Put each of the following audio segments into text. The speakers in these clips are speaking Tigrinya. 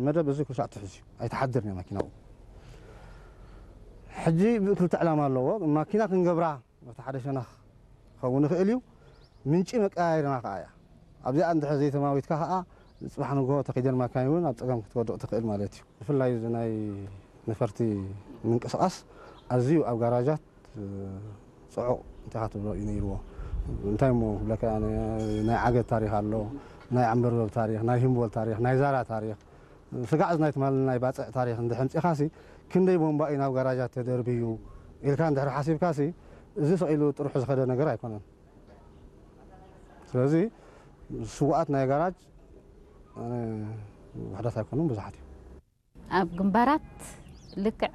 መደብ እዚ ኩሉ ሳዕ ትሕዝ እዩ፣ ኣይትሓድርን እያ ማኪና ኣብኡ። ሕጂ ክልተ ዕላማ ኣለዎ። ማኪና ክንገብራ በቲ ሓደ ሸነኽ ክኸውን ይኽእል እዩ። ምንጪ መቀያየሪና ከኣ እያ። ኣብዚኣ እንድሕር ዘይተማዊትካ ከኣ፣ ጽባሕ ንግሆ ተኺደን ማካይን እውን ኣብ ጸገም ክትወድቕ ትኽእል ማለት እዩ። ብፍላይ እዚ ናይ ነፈርቲ ምንቅስቓስ ኣዝዩ ኣብ ጋራጃት፣ እ፣ ጽዑቕ እንታይ ኢኻ ትብሎ እዩ ነይርዎ። እንታይ እሞ ክብለካ፣ ናይ ዓገት ታሪኽ ኣሎ፣ ናይ ዓምበርበብ ታሪኽ፣ ናይ ሂምቦል ታሪኽ፣ ናይ ዛራ ታሪኽ፣ ስጋዕ እዚ ናይ ትማሊ ናይ ባጽዕ ታሪኽ እንድሕር ኣምጺእኻሲ፣ ክንደይ ቦምባ እዩ ናብ ጋራጃት ተደርብዩ ኢልካ እንድሕር ሓሲብካሲ፣ እዚ ስቕ ኢሉ ጥርሑ ዝኸደ ነገር ኣይኮነን። ስለዚ ስዉኣት ናይ ጋራጅ፣ ኣነ፣ ውሑዳት ኣይኮኑን፣ ብዙሓት እዮም። ኣብ ግንባራት ልክዕ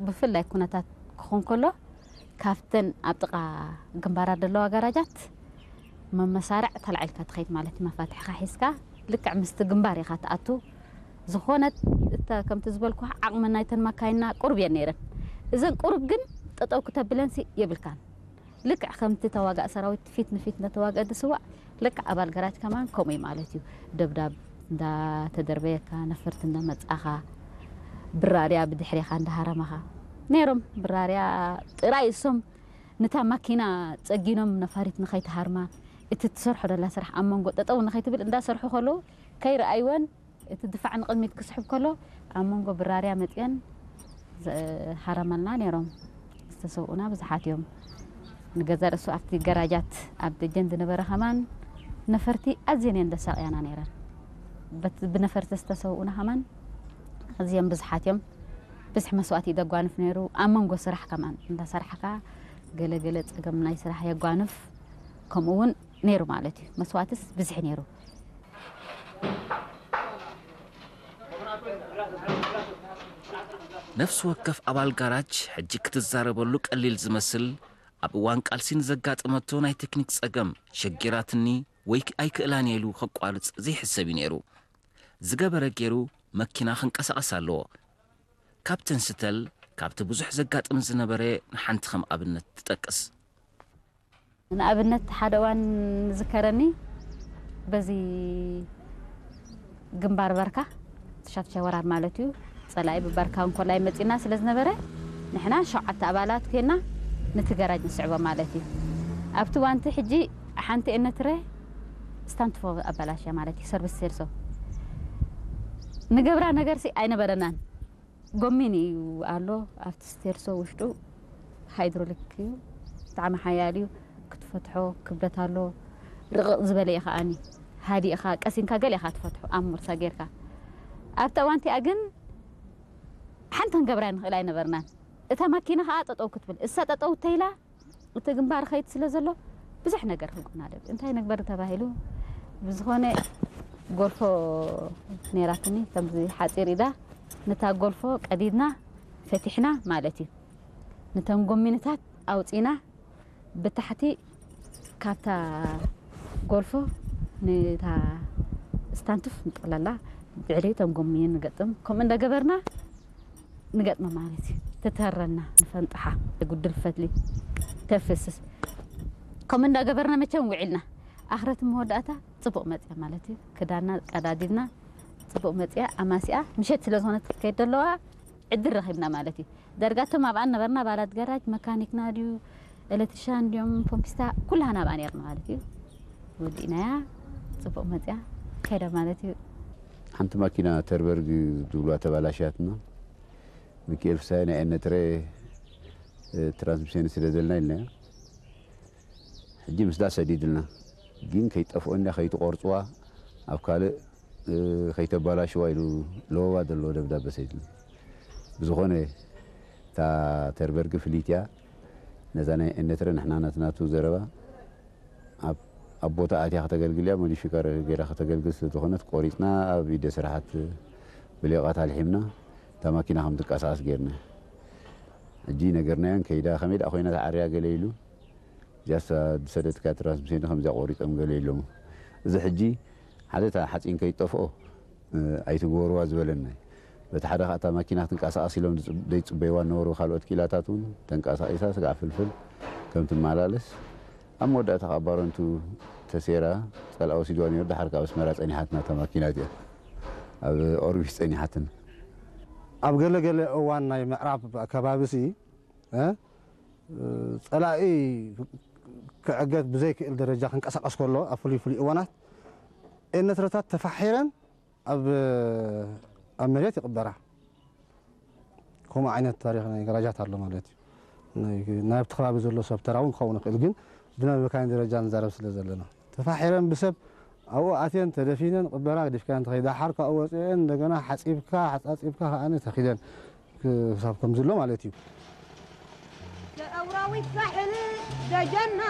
ብፍላይ ኩነታት ክኾን ከሎ፣ ካብተን ኣብ ጥቓ ግንባራት ዘለዋ ጋራጃት መመሳርዕ ተላዒልካ ትኸይድ ማለት እዩ። መፋትሕኻ ሒዝካ ልክዕ ምስቲ ግንባር ኢኻ ትኣቱ። ዝኾነት እተ-፣ ከምቲ ዝበልኩ ዓቕሚ ናይተን መካይንና ቁሩብ እየን ነይረን። እዘን ቁሩብ ግን ጠጠው ክተብለንሲ የብልካን። ልክዕ ከምቲ ተዋጋእ ሰራዊት ፊት ንፊት እንዳተዋግአ ዝስዋእ፣ ልክዕ ኣባል ገራጅ ከማን ከምኡ እዩ ማለት እዩ። ደብዳብ እንዳተደርበየካ፣ ነፈርቲ እንዳመጻኻ፣ ብራርያ ብድሕሬኻ እንዳሃረመኻ ነይሮም። ብራርያ ጥራይ እሶም ነታ ማኪና ጸጊኖም ነፋሪት ንኸይትሃርማ፣ እቲ ትሰርሖ ደላ ስራሕ ኣብ መንጎ ጠጠው ንኸይትብል እንዳሰርሑ ከለዉ ከይረኣይወን እቲ ድፋዕ ንቕድሚት ክስሕብ ከሎ፣ ኣብ መንጎ ብራርያ መጺአን ዝሃረመልና ነይሮም። ዝተሰውኡና ብዙሓት እዮም። ንገዛ ርእሱ ኣብቲ ገራጃት ኣብ ደጀን ዝነበረ ከማን ነፈርቲ ኣዝየን እየን ዘሳቕያና ነይረን። በት-፣ ብነፈርቲ ዝተሰውኡና ከማን ኣዝዮም ብዙሓት እዮም። ብዙሕ መስዋእቲ እዩ ዘጓንፍ ነይሩ። ኣብ መንጎ ስራሕ ከማን እንዳሰራሕካ ገለ ገለ ጸገም ናይ ስራሕ የጓንፍ። ከምኡ እውን ነይሩ ማለት እዩ። መስዋእትስ ብዝሒ ነይሩ። ነፍሲ ወከፍ ኣባል ጋራጅ ሕጂ ክትዛረበሉ ቀሊል ዝመስል፣ ኣብ እዋን ቃልሲ ንዘጋጠመቶ ናይ ቴክኒክ ጸገም፣ ሸጊራትኒ ወይ ኣይክእላን እየ ኢሉ ከቋርጽ ዘይሕሰብ እዩ ነይሩ። ዝገበረ ገይሩ መኪና ክንቀሳቐስ ኣለዎ። ካፕተን ስተል ካብቲ ብዙሕ ዘጋጥም ዝነበረ ንሓንቲ ከም ኣብነት ትጠቅስ። ንኣብነት ሓደ እዋን ዝከረኒ በዚ ግንባር በርካ ትሻትሻ ወራር ማለት እዩ። ጸላኢ ብበርካ እንኮላይ መጺና ስለ ዝነበረ ንሕና ሸውዓተ ኣባላት ኮይና ነቲ ገራጅ ንስዕቦ ማለት እዩ። ኣብቲ እዋንቲ ሕጂ ሓንቲ ኤነትረ ስታንትፎ ኣባላሽያ ማለት እዩ ሰርቪስ ሴርሶ ንገብራ ነገርሲ ኣይነበረናን። ጎሚን እዩ ኣሎ ኣብቲ ስቴርሶ ውሽጡ ሃይድሮሊክ እዩ ብጣዕሚ ሓያል እዩ ክትፈትሖ ክብደት ኣሎ ርቕቕ ዝበለ እዩ ከዓኒ ሃዲእኻ ቀሲንካ ገለ ኢኻ ትፈትሖ ኣብ ሙርሳ ጌርካ ኣብቲ እዋን እቲኣ ግን ሓንቲ ክንገብራ ንኽእል ኣይነበርናን እታ ማኪና ከዓ ጠጠው ክትብል እሳ ጠጠው ተይላ እቲ ግንባር ኸይድ ስለ ዘሎ ብዙሕ ነገር ክንጎናደብ እንታይ ነግበር ተባሂሉ ብዝኾነ ጎልፎ ነይራትኒ ከምዚ ሓፂር ኢዳ ነታ ጎልፎ ቀዲድና ፈቲሕና ማለት እዩ ነተን ጎሚንታት ኣውፂና ብታሕቲ ካብታ ጎልፎ ነታ ስታንቱፍ ንጥቕለላ ብዕሊ እቶም ጎሚን ንገጥም ከምኡ እንዳገበርና ንገጥማ ማለት እዩ ተተረና ንፈንጥሓ ጉድል ፈትሊ ተፍስስ ከምኡ እንዳገበርና መቸም ውዒልና ኣኽረት መወዳእታ ፅቡቕ መፅያ ማለት እዩ ክዳና ቀዳዲድና ፅቡቕ መፅያ ኣማሲኣ ምሸት ስለ ዝኾነት ክትከይድ ዘለዋ ዕድል ረኺብና ማለት እዩ ደርጋቶም ኣብኣን ነበርና ባላት ገራጅ መካኒክና ድዩ ኤሌክትሪሻን ድዮም ፖምፒስታ ኩላህና ኣብኣ ነርና ማለት እዩ ወዲእናያ ፅቡቕ መፅያ ከይዳ ማለት እዩ ሓንቲ ማኪና ተርበርግ ዝብልዋ ተባላሽያትና ሚኪኤል ፍሳይ ናይ ኤነትረ ትራንስሚሽን ስለ ዘለና ኢልናዮ ሕጂ ምስዳ ሰዲድልና ግን ከይጠፍኦ እንዳ ከይትቆርፅዋ ኣብ ካልእ ከይተባላሽዋ ኢሉ ለወባ ዘለዎ ደብዳበ ሰዲድልና ብዝኾነ እታ ተርበርግ ፍልይቲ እያ ነዛ ናይ ኤነትረ ንሕና ናትናቱ ዘረባ ኣብ ቦታ ኣትያ ከተገልግል እያ ሞዲፊካ ገይራ ከተገልግል ስለዝኾነት ቆሪፅና ኣብ ኢደ ስራሓት ብሌቓት ኣልሒምና እታ ማኪና ከም ትንቀሳቐስ ገይርና ሕጂ ነገርናዮን ከይዳ ከመይ ደኣ ኮይና ተዓርያ ገለ ኢሉ እዚኣስ ዝሰደትካ ትራንስሚሽን ከምዚኣ ቆሪፆም ገለ ኢሎም እዚ ሕጂ ሓደ እታ ሓፂን ከይጠፍኦ ኣይትግበርዋ ዝበለና በቲ ሓደ ከዓ እታ ማኪና ክትንቀሳቐስ ኢሎም ዘይፅበይዋ ነበሩ ካልኦት ኪላታት እውን ተንቀሳቒሳ ስጋዕ ፍልፍል ከም ትመላለስ ኣብ መወዳእታ ከዓ ባረንቱ ተሴራ ፀልኣ ወሲድዋ ነይሩ ደሓር ካብ ኣስመራ ፀኒሓትና እታ ማኪና እዚኣ ኣብ ኦርቢት ጸኒሓትን። ኣብ ገለ ገለ እዋን ናይ ምዕራብ ከባቢ ሲ እ፣ ጸላኢ ክዕገት ብዘይክእል ደረጃ ክንቀሳቐስ ከሎ ኣብ ፍሉይ ፍሉይ እዋናት ኤነትረታት ተፋሒረን ኣብ ኣብ መሬት ይቕበራ። ከምኡ ዓይነት ታሪኽ ናይ ገራጃት ኣሎ ማለት እዩ። ናይ ናብቲ ከባቢ ዘሎ ሰብ ተራ እውን ክኸውን ይኽእል፣ ግን ብናይ መካይን ደረጃ ንዛረብ ስለ ዘለና ተፋሒረን ብሰብ ኣብኡ ኣትየን ተደፊነን ቅበራ ገዲፍካየን ተኸይዳ ሓር ካብኡ ወፅአን እንደገና ሓፂብካ ሓፃፂብካ ከዓነ ተኺደን ክሳብ ከም ዝሎ ማለት እዩ። የእውራዊት ሳሕል ደጀና